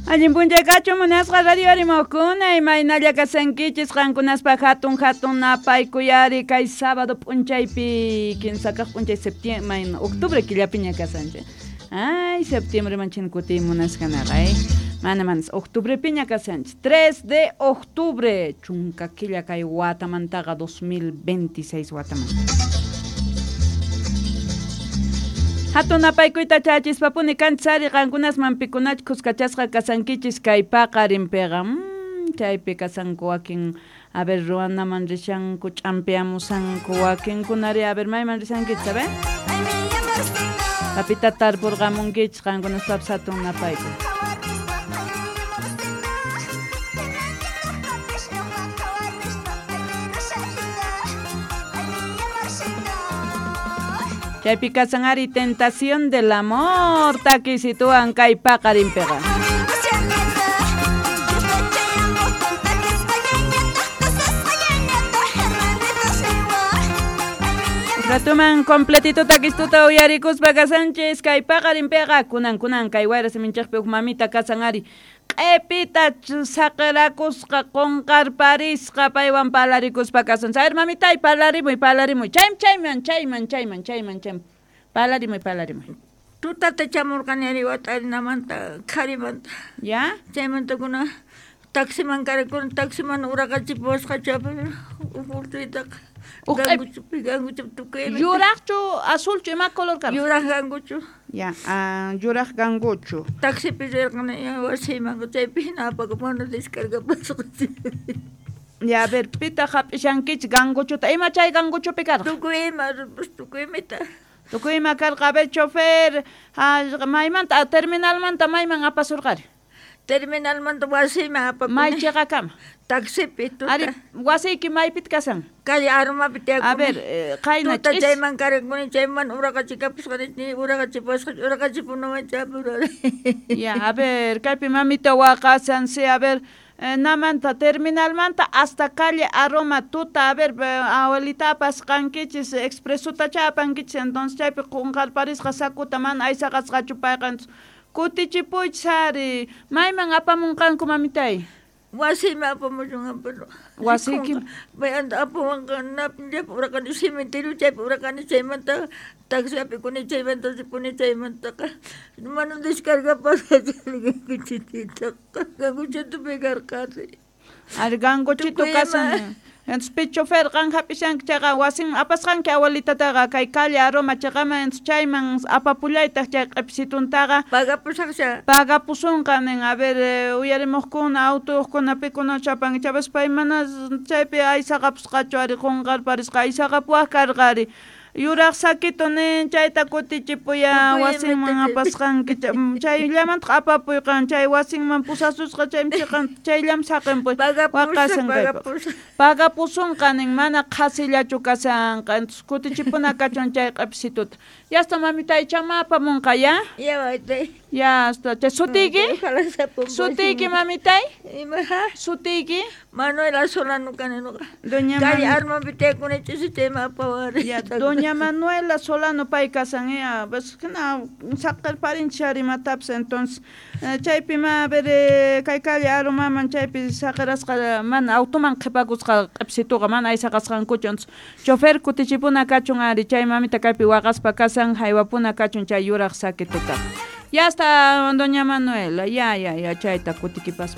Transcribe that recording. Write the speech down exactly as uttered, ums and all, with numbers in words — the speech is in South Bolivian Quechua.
Allin punchaykachu munasqa radio arimukuna imaynalla kasankichis qankunaspa hatun hatun napaykuyari kay sábado p'unchaypi kinsa kaq p'unchay septiembre octubre killapiña kasanchik. Ay, septiembre manchin kutiy munasqanaqa ay. Mana manas octubrepiña kasanchik. tres de octubre chunka killa kay watamantaqa dos mil veintiséis watamanta. Hatun napaykuyta chachispapuni kanchari qankunasman pikunach kuskachasqa kasankichis kay paqarinpiqa. Mm, chaypi kasanku wakin a ver ruwanaman rishanku ch'ampiamusanku wakinkunari a ver mayman rishankichis a ver. Papita tarpurqamunkichis qankunaspapas hatun napaykuy. Chaypi kasan ari tentación del amor takisituan kay paqarinpiqa. Ratuman completito takistuta uyarikuspa kasanchis kay paqarinpiqa kunan kunan kay wayra siminchikpi huk mamita kasan ari q'ipita saqirakusqa qunqarparisqa paywan parlarikuspa kasan. A ver mamitay parlarimuy parlarimuy chayman chayman chayman chayman chayman chayman parlarimuy parlarimuy. Tutata chamurqani ari watarinamanta qharimanta. Ya? Chaymanta kuna taximan karakuna taximan uraqachipuwasqa chapi urtuytaqa. Ganguchupi ganguchupi tukuy. Yuraqchu azulchu ima color karqa? Yuraq ganguchu. Ya, ah, yuraq ganguchu. Taxipi rirqani wasiyman chaypi hina apakamuna descargapasqa. Ya, a ver, pitaq hap'ishankichik ganguchuta. Ima chay ganguchupi karqa? Tukuy ima, tukuy imita. Tukuy ima karqa. A ver, chofer, maymanta, terminalmanta mayman apasurqari? Terminalmanta wasiyman apakuni. May chiqakama? Taxipi tuta. Ari, wasiyki maypit kasan? Calle Aromapi tiyakuni. A ver, eh, qayna tuta chayman karakuni, chayman uraqachikapusqani, ni uraqachipusqa, uraqachipunaman chapurani. Ya, a ver, kaypi mamita waqasan, sí, a ver, eh, namanta terminalmanta hasta calle Aroma tuta, a ver, abuelita apasqankichis, expresota chapankichis, entonces chaypi qunqarparisqa sakuta mana aysaqasqachu payqa, kutichipuychis ari, mayman apamunqanku mamitay? Wasiyman apamuchun pero wasiyki maymanta apawanqa chaypi uraqani cementerio chaypi uraqani chaymanta taxi apikuni chaymanta ripuni chaymantaqa mana descargapasqa ganguchititaqa ganguchitupi karqani. Ari ganguchito kasan. Entonces pi chofer qan hap'ishanki chayqa wasin apasqanki abuelitataqa kay calle Aroma chayqaman entonces chayman apapullaytaq chay q'ipsituntaqa pagapusaqcha pagapusunqa nin. A ver, uyarimuqkuna autoyuqkuna pikuna chapanki chapas pay mana chaypi aysaqapusqachu ari qunqarparisqa aysaqapuwaq karqa ari yuraq sakito nin chayta kutichipuya wasinman apasqanki chayllamantaq apapuyqan chay wasinman pusasusqa chaymi chiqan chayllam saqinpuy waqasan kaypaq pagapusunqa nin mana qhasillachu kasanqa entonces kutichipuna kachun chay q'ipsituta. Ya está mamitay chama apamunqa ya. Ya mamitay. Ya está. Chay sutiyki? Sutiyki mamitay? Ima ha? Sutiyki? Manuela Solano kani nuqa. Doña Calle Armapi tiyakuni ch'isi chayman apawari. Ya, Doña Manuela Solano pay kasan ya, pues na saqirparinchis ari imatapis entonces chaypi ma a ver kay calle Aromaman chaypi saqirasqa mana automan qhipakusqa q'ipsituqa mana aysaqasqankuchu entonces chofer kutichipuna kachun ari chay mamita kaypi waqaspa kasan haywapuna kachun chay yuraq sakituta. Ya está doña Manuela, ya ya ya chayta kutikipaspa.